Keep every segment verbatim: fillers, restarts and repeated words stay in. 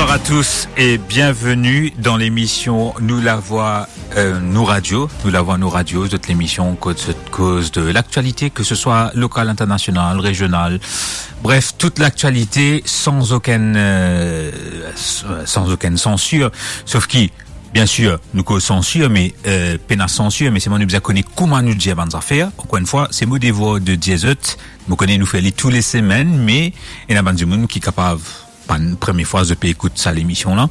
Bonsoir à tous et bienvenue dans l'émission Nou Lavwa, euh, Nou Radio. Nou Lavwa, Nou Radio, zot lemision kot zot koz de laktialite, ke se swa lokal, internasional, rezional. Bref, tout laktialite san okenn, euh, s-, san okenn sansir. Sof ki, biensir, nou koz sansir, me, euh, pena sansir, me selman nou bizin kone kouma nou dir bann zafer. Ankor enn fwa, se mo devwar de dir zot, mo kone nou fer li tou le semenn, me ena bann dimoun ki kapav, bann premie fwa zot pe ekout sa lemision la.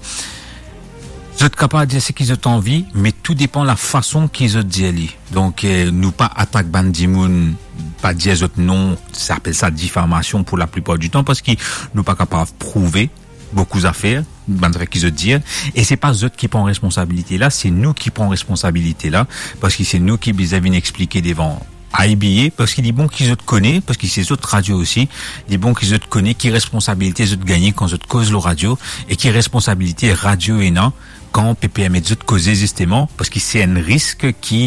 Zot kapav dir seki zot anvi, me tou depan lafason ki zot dir li. Donk, eh, nou pa atak bann dimoun, pa dir zot non, sa apel sa difamasion pou laplipar ditan, parski nou pa kapav prouve boukou zafer, bann zafer ki zot dir, e se pa zot ki pran responsabilite la, se nou ki pran responsabilite la, parski se nou ki bizin vinn explike devan I B A, parski li bon ki zot kone, parski se zot radio osi, li bon ki zot kone ki responsabilite zot gagne kan zot koz lor radio, e ki responsabilite radio ena kan pe permet zot koze zisteman, parski se enn risk ki,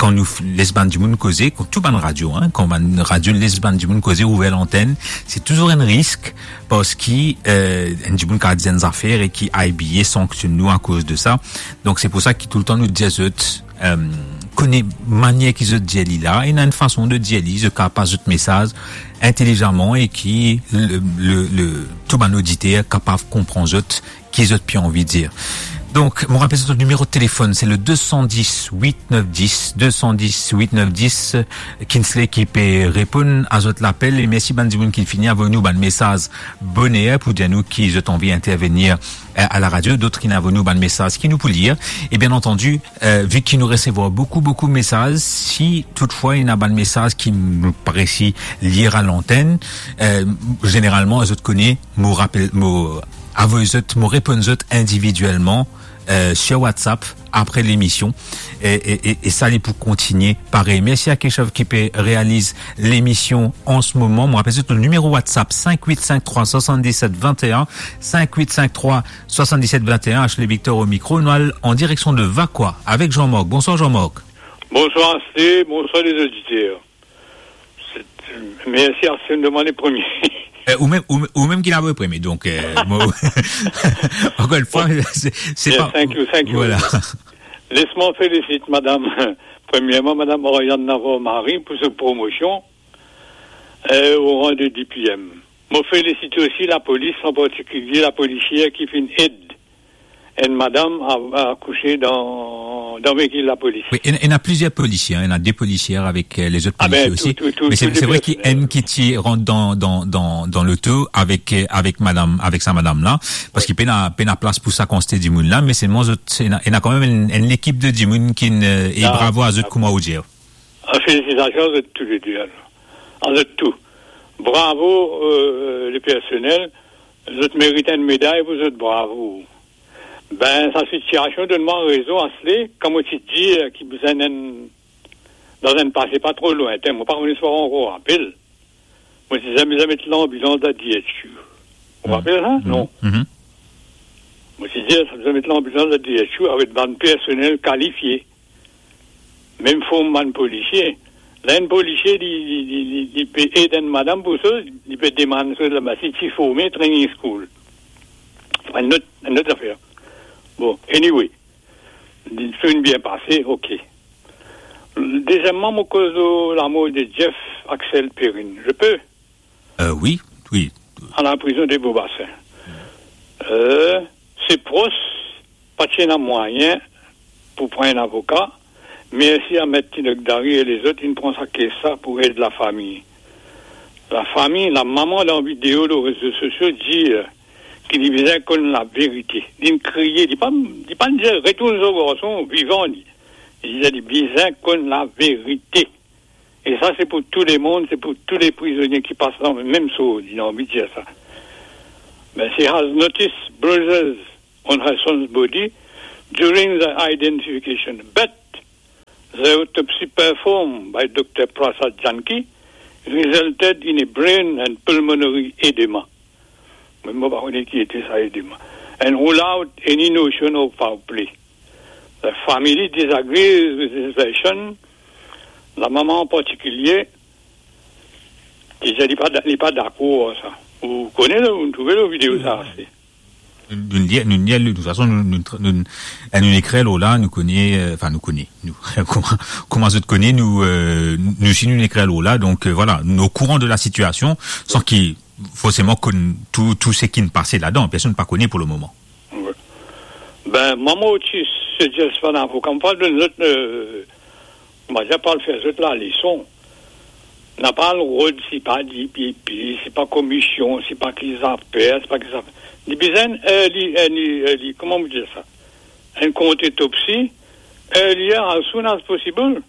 kan nou f-, les bann dimoun koze, kan tou bann radio, hein, kan bann radio les bann dimoun koze, ouver lantenn, se touzour enn risk, parski, eh, enn dimoun kapav dir enn zafer e ki I B A sanksionn nou akoz de sa. Donk, se pou sa ki toultan nou dir zot, eh, kone manier ki zot dir li la, ena enn fason de dir li, zot kapav pas zot mesaz intelizaman e ki le, le, le, tou bann oditer kapav konpran zot ki zot pe anvi dir. Donk, mo rapel zot nimero telefonn, se le deux cent dix huit neuf dix, deux cent dix huit neuf dix, Kinsley ki pe reponn a zot lapel, e mersi bann dimoun ki fini avoy nou bann mesaz boner pou dir nou ki zot anvi intervenir, eh, a laradio, dot ki inn avoy nou bann mesaz ki nou pou lir. E bien antandi, eh, vi ki nou resevwar boukou, boukou mesaz, si toutfwa ena bann mesaz ki nou pa resi lir a lantenn, eh, zeneralman, zot kone, mo rapel, mo avoy zot, mo reponn zot individielman, eh, sur WhatsApp apre lemision. E, e, e, e sa li pou kontigne parey. Mersi a Keshav ki pe realiz lemision an se moman. Mo rapel zot nou nimero WhatsApp, cinq huit cinq trois soixante-dix-sept vingt et un, cinq huit cinq trois soixante-dix-sept vingt et un, Ashley Victor au micro. Nou al an direksion de Vacoas avek Jean-Marc. Bonsoir Jean-Marc. Bonsoir Ashley, bonsoir les auditeurs. Se, mersi Ashley, nou demann le premie. Eh, ou mem, ou, ou mem ki inn avoy premie, donk, eh, mo, ankor enn fwa, se, se pa, thank you, thank you. Voilà. Les mwa felisit madam, premierman, madam Oriane Navarro-Marie pou so promosion, eh, o rang de D P M. Mo felisit osi lapolis, an partikilie lapolisier ki finn ed enn madam a, a akouse dan, dan veikil lapolis. Wi, ena, ena plizier polisie, hein, ena de polisier avek, eh, lezot polisie osi. Ah ben, tou, tou, tou, tou le personnel. Me se, se vre ki enn ki ti rant dan, dan, dan, dan loto avek, eh, avek madam, avek sa madam la, parski pena, pena plas pou sa kantite dimoun la, me selman zot, ena, ena kanmem enn, enn lekip de dimoun ki, eh, e bravo a zot, kouma ou dir. Ah, felisitasion a zot toulede, alor. A zot tou. Bravo, eh, le personnel. Zot merit enn meday pou zot bravo. Ben, sa sitiasion donn mwa rezon, Ashley, kan mo ti dir ki bizin enn, dan enn pase pa tro lwintin, mo pa kone si ou ankor rapel, mo ti dir bizin met lanbilans dan D H U. Ou rapel sa? Non. Mo ti dir, sa bizin met lanbilans dan D H U avek bann personnel kalifie. Mem form bann polisie. La enn polisie, li, li, li, li, li pe ed enn madam pou sa, li pe demann sa laba, si ti forme training school. Enn lot, enn lot zafer. Bon, anyway. Li finn bien pase, ok. Dezieman, mo koz lor lamor de Jeff Axel Perrine. Je peux? Euh, oui, oui. A la prizon de Beaubassin. Euh, se pros pa ti ena mwayin pou pran enn avoka. Mersi a Met Tinok Dari e lezot, inn pran sa kes la pou ed lafami. Lafami, lamama dan video lor rezo sosio dir ki li bizin konn laverite. Li'nn kriye, li pa, li pa'nn dir retourn so garson vivan li. Li dir li bizin konn laverite. E sa, se pou tou lemonn, se pou tou le prizonie ki pas dan mem sort, li anvi dir sa. Ben, she has noticed bruises on her son's body during the identification, but the autopsy performed by Doctor Prasad Janki resulted in a brain and pulmonary edema. Mem mo pa kone ki ete sa edema. And rule out any notion of foul play. The family disagrees with this version. Lamama an partikilie, ki dir li pa, li pa dakor ar sa. Ou kone la, ou trouve la video sa ase. Nou, nou lir, nou lir, de toute façon, nou, nou, nou, eh, nou ekrir lor la, nou kone, eh, anfin, nou kone, nou, kouma, kouma zot kone, nou, eh, nou, si nou ekrir lor la, donk, eh, vwala, nou okouran de la sitiasion, san ki, forseman, konn tou, tou seki pase ladan, personn pa kone pou lemoman. Wi. Ben, mwa, mo ti suggest bann avoka, mo pa donn zot, eh, Mo pa dir pou al fer zot laleson. Napa rod, si pa D P P, si pa komisyon, si pa ki zafer, si pa ki zafer. Li bizin, eh, li, eh, li, eh, li, kouma mo dir sa? Enn kont-otopsi, eh, li, as soon as possible.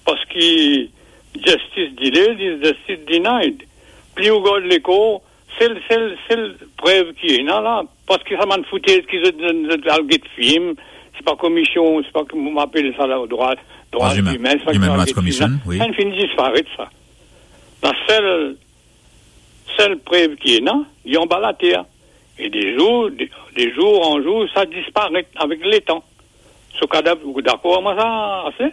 Parski justice delayed is justice denied. Pli ou gard lekor, sel, sel, sel prev ki ena la, parski sa bann foutez ki zot, zot, zot al get fim, se pa komisyon, se pa ki mo apel sa la, drwa, drwa Human, imin, se pa ki Human al Rights get fim la. Commission, wi. Sa inn fini disparet sa. Lasel, sel prev ki ena, li anba later. E de zour, de, de zour an zour, sa disparet avek letan. So kadav, ou dakor ar mwa sa, ase?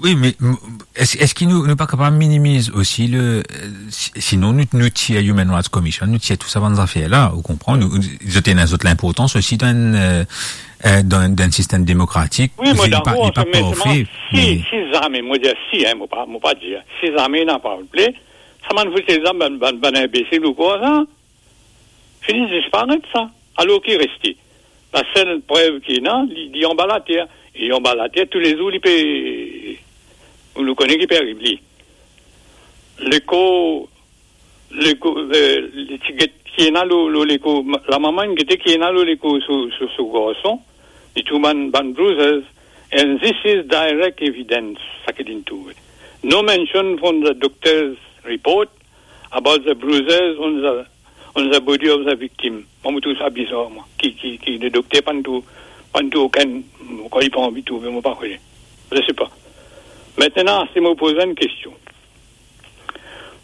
Wi, me, m-, es, eski nou, nou pa kapav minimiz osi le, eh, si-, sinon nou, nou tir Human Rights Commission, nou tir tou sa bann zafer la, ou konpran? Nou, zot ena zot linportans osi dan, eh, eh, dan, dan enn sistem demokratik. Wi, mo dakor, parfe, me selman, si, me si zame, mo dir si, en, mo pa, mo pa dir, si zame napa, sa bann foutez la, bann, bann, bann inbesil ou kwa sa? Fini disparet sa. Alor ki reste? Lasel prev ki ena, li, li anba later. E anba later, toulezour li pe, nou kone ki pe ariv li. Lekor, lekor, eh, li ti get ki ena lor, lor lekor, ma-, lamama inn gete ki ena lor lekor so, so, so garson, li trouv bann, bann bruises, and this is direct evidence, sa ki linn trouve. No mention from the doctor's report about the bruises on the, on the body of the victim. Mwa, mo trouv sa bizar, mwa. Ki, ki, ki le dokter pa'nn trouv, pa'nn trouv okenn, kan li pa anvi trouve, mo pa kone. Je sais pas. Aster, mo poz enn kestion.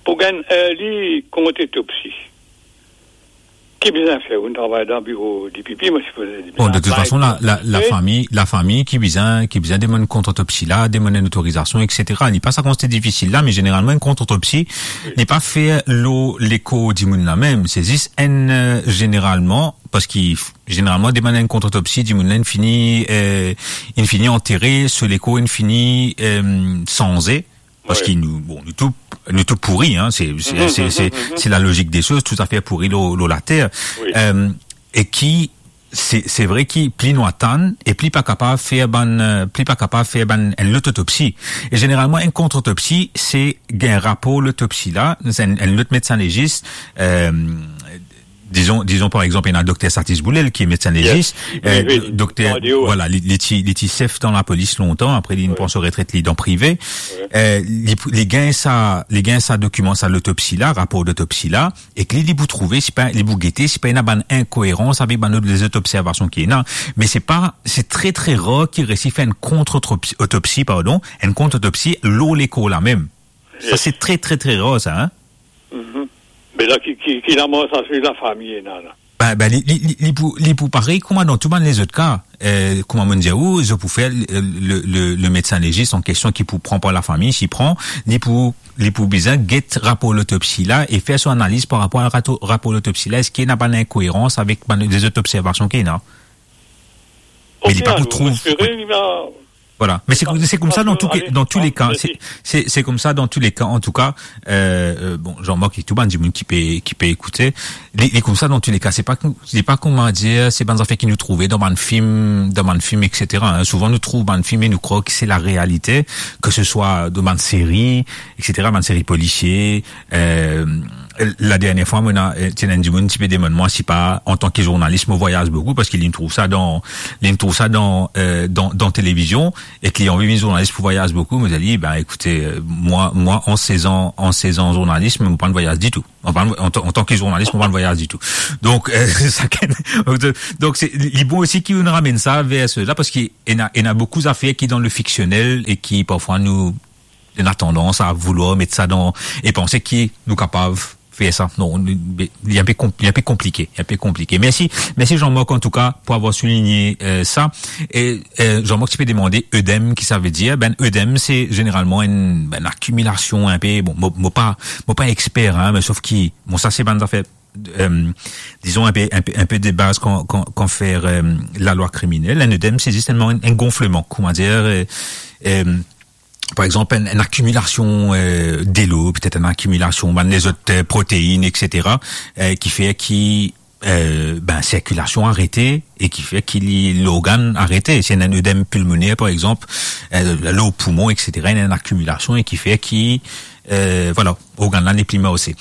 Pou gagn, eh, li kont-otopsi, ki bizin fer? Ou travay dan biro D P P, mo sipoze li bizin... Bon, de toute façon, la, la, lafami, lafami ki bizin, ki bizin demann kont-otopsi la, demann enn otorizasion, et cetera. Li pa sa koumans difisil la, me zeneralman, enn kont-otopsi, li pa fer lor lekor dimoun la mem. Se zis enn, eh, zeneralman, parski f-, zeneralman, demann enn kont-otopsi, dimoun la inn fini, eh, inn fini antere, so lekor inn fini, eh, sanze. Parski nou, bon, nou tou, nou tou pouri, en, se, se, se, se, se lalozik de soz, tou zafer pouri lor, lor later. Wi. Eh, e ki, se, se vre ki pli nou atann, e pli pa kapav fer bann, eh, pli pa kapav fer bann, enn lot otopsi. E zeneralman, enn kont-otopsi, se gagn rapor lotopsi la, se enn, enn lot medsin legis, eh, dizon, dizon par exanp, ena dokter Satis Boulel, ki medsin legis, eh, wi, wi, dokter, vwala, li, li ti, li ti sef dan lapolis lontan, apre li pran so retret, li dan prive. Wi. Eh, li, li gagn sa, li gagn sa dokiman, sa lotopsi la, rapor lotopsi la, ek li, li pou trouve, si pa, li pou gete, si pa ena bann inkoerans avek bann lot lezot observasion ki ena. Me se pa, se tre, tre rar ki resi fer enn kont-otopsi, otopsi, pardon, enn kont-otopsi lor lekor la mem. Sa, yes, se tre, tre, tre rar, sa, en? Mhm. Me la, ki, ki, ki lamor sa, swiv lafami ena la? Ben, ben, li, li, li, li pou, li pou parey kouma dan tou bann lezot ka. Eh, kouma mo'nn dir ou, zot pou fer le, le, le, le medsin legis an kestion ki pou pran par lafami, si pran, li pou, li pou bizin get rapor lotopsi la e fer so analiz par rapor a rato-, rapor lotopsi la. Eski ena bann inkoerans avek bann lezot observasion ki ena? Me li pa pou trouv. Ok, alor, mo espere li va Vwala. Me se, se koumsa dan tou, dan tou le ka. Se, se, se koumsa dan tou le ka, an tou ka. Eh, eh, bon, Jean-Marc e tou bann dimoun ki pe, ki pe ekoute, li, li koumsa dan tou le ka. Se pa kou-, se pa kouma dir, se bann zafer ki nou trouve dan bann fim, dan bann fim, et cetera, en. Souvan nou trouv bann fim e nou krwar ki se larealite, ke se swa dan bann seri, et cetera, bann seri polisie, Eh, ladernie fwa, mo ena, eh, ti ena enn dimoun ti pe demann mwa si pa, antan ki zournalis, mo vwayaz boukou, parski li trouv sa dan, li trouv sa dan, eh, dan, dan televizion, ek li anvi vinn zournalis pou vwayaz boukou. Mo dir li, ben, ekoute, eh, mwa, mwa, an sez an, an sez an zournalis, mo pa'nn vwayaz ditou. Anfin, antan, antan ki zournalis, mo pa'nn vwayaz ditou. Donk, eh, sakenn, donk, se, li bon osi ki nou ramenn sa ver sela, parski ena, ena boukou zafer ki dan le fiksionel e ki, parfwa, nou, ena tandans a voulwar met sa dan, e panse ki nou kapav fer sa. Non, li, li inpe konp-, li inpe konplike, inpe konplike. Mersi, mersi Jean-Marc, an tou ka, pou avoir souligne, eh, sa. E, eh, Jean-Marc ti pe demande œdème, ki sa ve dir. Ben, œdème, se zeneralman enn, enn akimilasion inpe, bon, mo, mo pa, mo pa exper, en, me sof ki, bon, sa se bann zafer euh, disons, un peu, un peu, un peu de base quand, quand, quand faire, euh, la loi criminelle. Un œdème, c'est justement un, un gonflement, comment dire, euh, euh, par exemple, une, une accumulation, euh, delo, peut-être une accumulation, ben, les autres, euh, protéines, et cetera, euh, qui fait qui, euh, ben, circulation arrêtée et qui fait que les, l'organe arrêté. Si un œdème pulmonaire, par exemple, euh, le poumon, et cetera, il y a une accumulation et qui fait que, euh, voilà, organe-là n'est plus mauvais.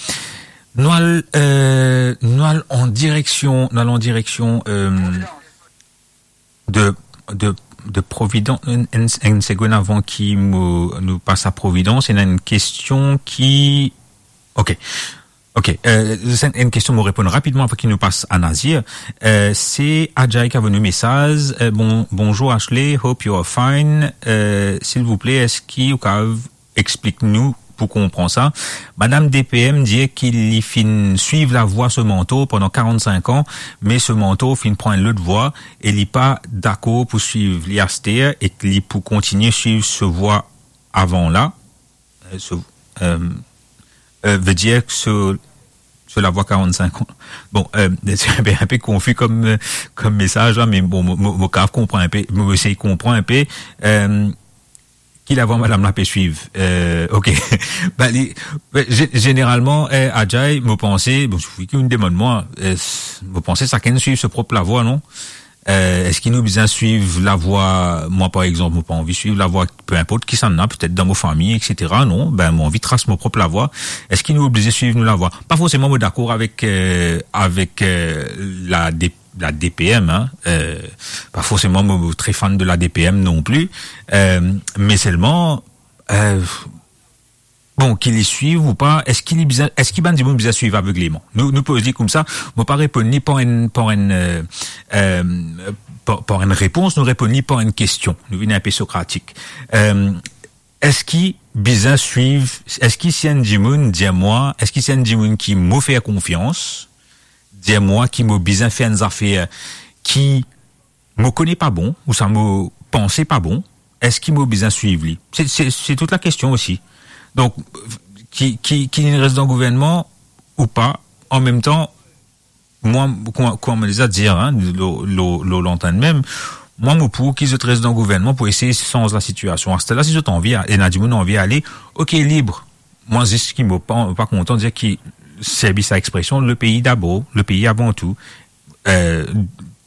Nou al, euh, nou al an direksion, nou al an direksion, euh, de, de, de Providence. Enn, enn, enn segonn avan ki mo, nou pas a Providence, ena enn kestion ki, ok. Ok, euh, se enn kestion mo reponn rapidman avan ki nou pas a Nazir. Euh, se Ajay ki avoy nou mesaz. Euh, bon, bonjour Ashley, hope you are fine. Euh, silvouple, eski ou kav explik nou pou konpran sa. Madam D P M dir ki li finn swiv lavwa so mantor pandan karant-sink an, me so mantor finn pran enn lot vwa e li pa dakor pou swiv li aster e ki li pou kontinie swiv so vwa avan la. Euh, so, euh, euh, vedir ki so, so lavwa karant-sink an. Bon, euh, se enn pe, enn pe konfi kom, euh, kom mesaz la, me bon, mo, mo, mo kav konpran enn pe, mo esey konpran enn pe. Euh, ki lavwa madam la pe swiv? Euh, ok. Ba, li, be, ze-, zeneralman, eh, Ajay, mo panse, bon, si ou demann mwa, eh, s-, mo panse sakenn swiv so prop lavwa, non? Eh, eski nou bizin swiv lavwa, mwa, par exanp, mo pa anvi swiv lavwa, pe inport kisannla, petet dan mo fami, et cetera, non? Ben, mo anvi tras mo prop lavwa. Eski nou oblize swiv nou lavwa? Pa forseman mo dakor avek, eh, avek, eh, la dep-, la D P M, hein, euh, pa forseman mo, mo tre fan de la D P M non pli, euh, me selman, euh, bon, ki li swiv ou pa, eski li bizin, eski bann dimoun bizin swiv avegleman? Nou, nou poz li koumsa, mo pa reponn li par enn, par enn, euh, euh, par, par enn repons, nou reponn li par enn kestion. Nou vinn inpe sokratik. Euh, eski bizin swiv, eski si enn dimoun dir mwa, eski si enn dimoun ki mo fer konfians, dir mwa ki mo bizin fer enn zafer ki mo kone pa bon, ouswa mo panse pa bon, eski mo bizin swiv li? Se, se, se tout la kestion osi. Donk, ki, ki, ki li res dan gouvernman ou pa, an mem tan, mwa, kouma, kouma mo deza dir, hein, lor, lor, lor lantenn mem, mwa, mo pou ki zot res dan gouvernman pou esey sanz lasitiasion. Aster la, si zot anvi, ena dimoun anvi ale, ok, lib. Mwa, zis ki mo pa, pa kontan dir ki servi sa expresion, le pays d'abord, le pays avant tout. Euh,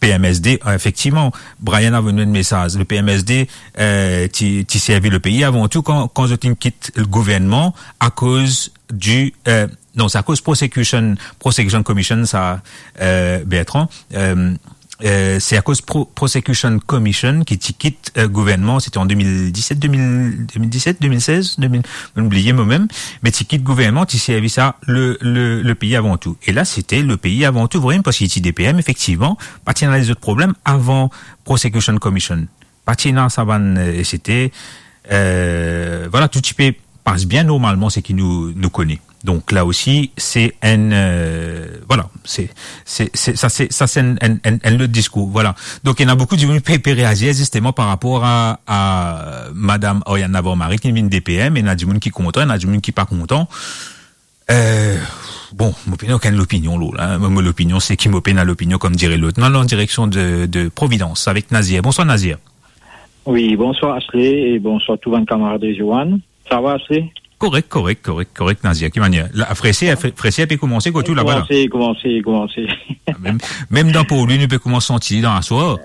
P M S D, efektivman, Brian avoy nou enn mesaz. Le P M S D, euh, ti, ti servi le pays avant tout kan, kan zot inn kit gouvernman akoz di, euh, non, se akoz Prosecution, Prosecution Commission, sa, euh, Bertrand, euh, euh, se akoz Pro-, Prosecution Commission ki ti kit, euh, gouvernman, sete an de mil diset, de mil, de mil diset, de mil sez, de mil, mo bliye mo mem, me ti kit gouvernman, ti servi sa le, le, le pays avant tout. E la, sete le pays avant tout, vremem, parski ti D P M, efektivman, pa ti ena lezot problem avan Prosecution Commission. Pa ti ena sa bann, euh, sete, euh, vwala, tou ti pe pas bien normalman, seki nou, nou kone. Donk, la osi, se enn, euh, vwala, se, se, se, sa, se, sa, se enn, enn, enn, enn lot diskour, vwala. Donk, ena boukou dimoun pe, pe reazir, zisteman, par rapor a, a Madam Oriane Navarro-Marie, ki vinn D P M, ena dimoun ki kontan, ena dimoun ki pa kontan. Euh, bon, mo pena okenn lopinion, lor la, hein. Mo, mo lopinion, seki mo pena lopinion, comme dirait l'autre. Nou al an direksion de, de Providence avek Nazir. Bonswar, Nazir. Wi, bonswar, Ashley, e bonswar tou bann kamarad Rizwan. Sa va, Ashley? Korek, korek, korek, korek, Nazir. Ki manier? La, Freser, Fre-, Freser pe koumans kot ou laba la? Koumans, koumans, koumans. Mem, mem dan Port Louis, nou pe koumans santi dan laswar.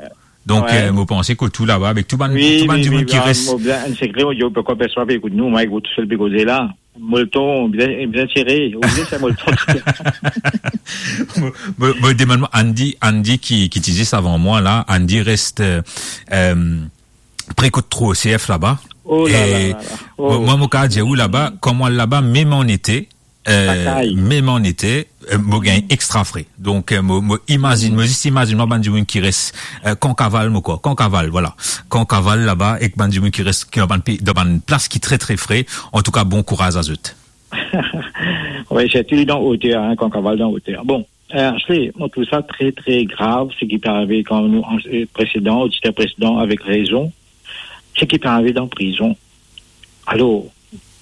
Donk, euh, mo panse kot ou laba, avek tou bann, wi, tou bann dimoun ki res. Mo bien, enn sekre, mo dir, pourkoi personn pa pe ekout nou, mwa, ekout tousel pe koze la. Molton, bien, bien sere. Ou bien, se molton. Mo, mo, mo demann mwa, Andy, Andy ki, ki ti zis avan mwa la, Andy res, euh, euh, pre kot tro C F laba. Oh la la la la. E mo, mwa, mo kav dir ou laba, kan mo al laba, mem an ete, euh, mem an ete, euh, mo gagn extra fre. Donk, euh, mo, mo imazinn, mo zis imazinn mwa bann dimoun ki res, euh, Kankaval, mo krwar, Kankaval, vwala. Kankaval laba, ek bann dimoun ki res, ki dan bann pe-, dan bann plas ki tre, tre fre. Antouka, bon kouraz a zot. Wi, sirtou dan oter, hein, Kankaval dan oter. Bon, euh, Ashley, mo trouv sa tre, tre grav, seki pe arive kan nou, euh, presedan, oditer presedan, avek rezon, seki pe arive dan prizon. Alor,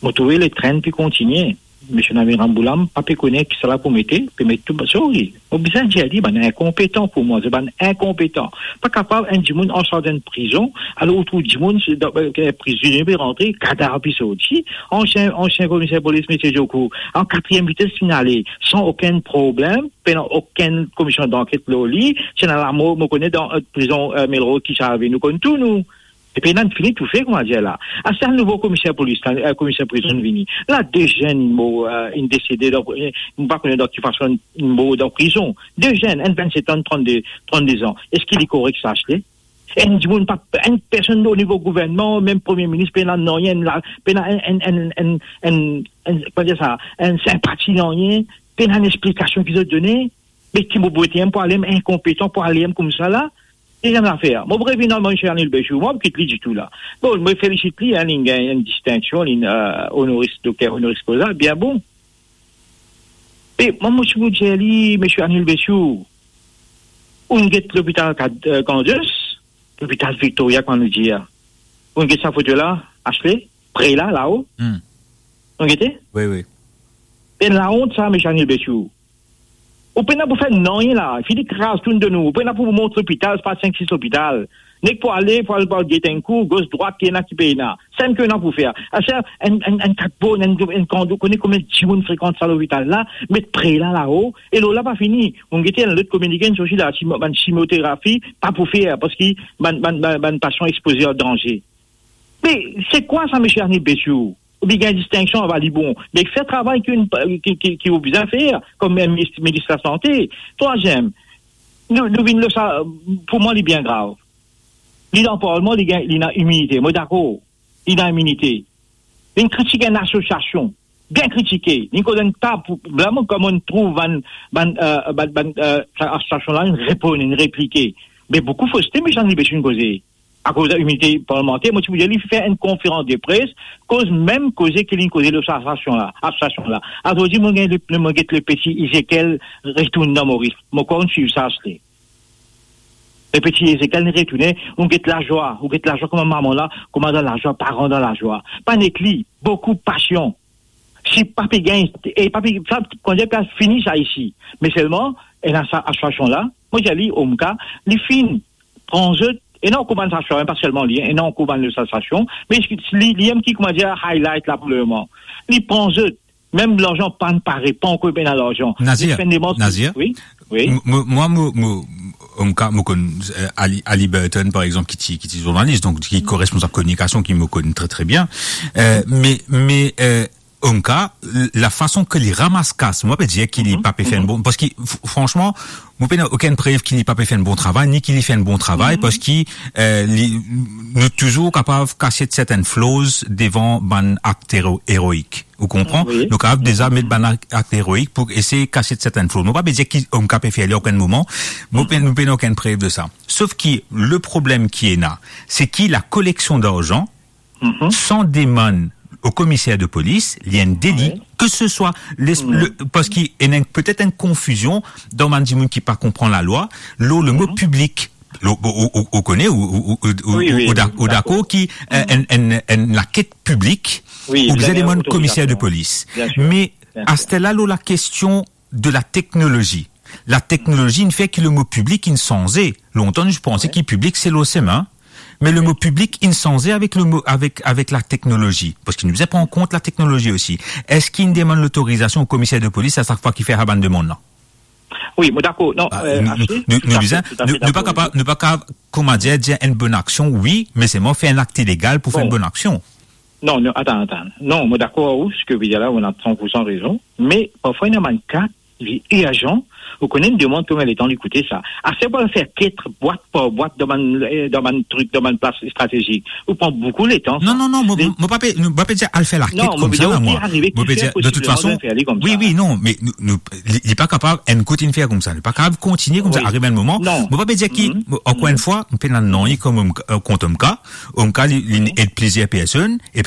mo trouve letrenn pe kontinie. Misie Namiram Bhoola, pa pe kone kisala pou mete, pe met tou, sorry. Mo bizin dir li, bann inkonpetan pou mwa, se bann inkonpetan. Pa kapav enn dimoun ansarz enn prizon, alor ou trouv dimoun, se dan, eh, prizonnie pe rantre, kadav pe sorti. Ansien, ansien komiser polis, misie Djokour, an katriem vites finn ale, san okenn problem, pena okenn komision danket lor li, si ena lamor, mo kone dan, eh, prizon, eh, Melrose ki save, nou konn tou, nou. Epi ena fini toufe, kouma dir la. Aster nouvo komiser polis la, eh, komiser prizon vini. La, de zenn mor, eh, inn desede dan, eh, mo pa kone dan ki fason inn mor dan prizon. De zenn, enn vennset an, trannde, trannde zan. Eski li korek sa, Asle? Enn dimoun pa, enn personn o nivo gouvernman, mem premie minis, pena nanye, enn la, pena enn, enn, enn, enn, enn, enn, kouma dir sa, enn sinpati, nanye, pena enn explikasion ki zot done. Me ki mo pou ete pou ale, inkonpetan pou ale koumsa la. Deziem zafer, mo pou revinn ar misie Anil Bechoo, mo pa kit li ditou la. Bon, mo felisit li, hein, li gagn enn distinksion, li, eh, onoris, dokter onoris koza, bien bon. Me mwa, mo ti pou dir li, misie Anil Bechoo, ou'nn get lopital Kad-, eh, Grandiose, lopital Victoria, kouma nou dir. Ou'nn get sa foto la, Asle, pre la, lao. Hmm. Ou'nn gete? Wi, wi. Enn laont sa, misie Anil Bechoo. Ou pena pou fer nanye la. Fini kraz tourn de nou. Ou pena pou mont lopital, pa sink, sis lopital. Nek pou ale, pou al, pou al get enn kou, gos, drwat, ki ena, ki pena. Sa ki ena pou fer. Aster, enn, enn, enn katbon, enn, enn kando, kone konbien dimoun frekant sa lopital la, met pre la lao, e lor la pa fini. Ou'nn gete enn lot kominike, enn sorti la, chimo-, bann chimioterapi, pa pou fer, parski bann, bann, bann, bann pasian expoze ar danze. Me se kwa sa, misie Anil Bechoo? Ou bizin gagn distinksion, ava li bon. Me fer travay ki, ki, ki, ki ou bizin fer, kom enn minis, minis lasante. Trwaziem, nou, nou vinn lor sa, pou mwa, li bien grav. Li dan parlman, li gagn, li ena iminite. Mo dakor, li ena iminite. Li kritik enn asosiasion, bien kritike. Li koz enn ta pou, vremem, kouma nou trouv bann, bann, eh, bann, bann, eh, sa asosiasion la, inn reponn, inn replike. Me boukou foste, misie Anil Bechoo inn koze. Akoz iminite parlmanter, mo ti pou dir li fer enn konferans de pres, koz mem koze ki li koze lor sa asosiasion la, asosiasion la. Azordi, mo gagn le, mo get le peti Ezekiel retourn dan Moris. Mo krwar ou'nn swiv sa, Asle. Le peti Ezekiel inn retourne, ou get lazwa, ou get lazwa kouma mama la, kouma dan lazwa, paran dan lazwa. Pa nek li, boukou pasian. Si pa pe gagn, e pa pe, sa, kouma dir, pe fini sa isi. Me selman, ena sa asosiasion la, mo dir li, Omka, li finn pran zot, ena ankor bann asosiasion, pa selman li, ena ankor bann lot asosiasion, me li, li mem ki, kouma dir, highlight la pou lemoman. Li pran zot, mem larzan pa'nn pare, pa ankor pena larzan. Nazir, li finn demande, Nazir, wi, wi. M-, mo-, mwa, mo, mo, Omka, mo konn, eh, Ali, Ali Burton, par exanp, ki ti, ki ti zournalis, donk ki koresponsab kominikasion, ki mo konn tre, tre bien. Eh, me, me, eh, Omka, lafason ki li ramas kas, mo pa pe dir ki li pa pe fer enn bon, parski, f-, fransman, mo pena okenn prev ki li pa pe fer enn bon travay, ni ki li fer enn bon travay, parski, eh, li, nou touzour kapav kasiet sertenn flaws devan bann akt ero-, eroik. Ou konpran? Wi. Nou kapav deza met bann ak-, akt eroik pou esey kasiet sertenn flaws. Mo pa pe dir ki Omka pe fer li okenn moman. Mo pe-, nou pena okenn prev de sa. Sof ki le problem ki ena, se ki la koleksion darzan, san demann o komiser de polis, li enn deli, ke se swa les-, le, parski ena petet enn konfizion dan bann dimoun ki pa konpran lalwa, lor le mo piblik. Lo-, ou, ou, ou, ou kone, ou, ou, ou, ou, wi, wi, ou da-, ou dakor ki, eh, enn, enn, enn laket piblik, wi, ou bizin demann komiser de polis. Bien sir. Me, bien sir, aster la, lor la kestion de la teknolozi. La teknolozi inn fer ki le mo piblik inn sanze. Lontan, nou ti panse ki piblik se lor semin. Me le mo piblik inn sanze avek le mo, avek, avek la teknolozi. Parski nou bizin pran kont la teknolozi osi. Eski inn demann lotorizasion o komiser de polis a sak fwa ki fer sa bann demann la? Wi, mo dakor. Non, ah, eh, nou, nou, nou bizin, nou, nou pa kapav, nou pa kapav, kouma dir, dir enn bonn aksion, wi, me selman fer enn akt ilegal pou fer enn bonn aksion. Non, non, atann, atann. Non, mo dakor ar ou, seki ou pe dir la, ou ena san pour san rezon. Me parfwa, ena bann ka, li irzan, ou kone enn demann konbien letan li koute sa. Aster pou al fer ket bwat par bwat dan bann, eh, dan bann trik, dan bann plas stratezik, ou pran boukou letan, sa. Non, non, non, mo, mo pa pe, mo pa pe dir al fer laket koumsa la, mwa. Mo pe dir, de tout fason, wi, wi, non, me nou, nou, li, li pa kapav enn kout inn fer koumsa, li pa kapav kontigne koumsa, ariv enn moman. Mo pa pe dir ki, ankor enn fwa, mo pena nanye kont Omka, eh, kont Omka, Omka, li, li ed plizier personn, e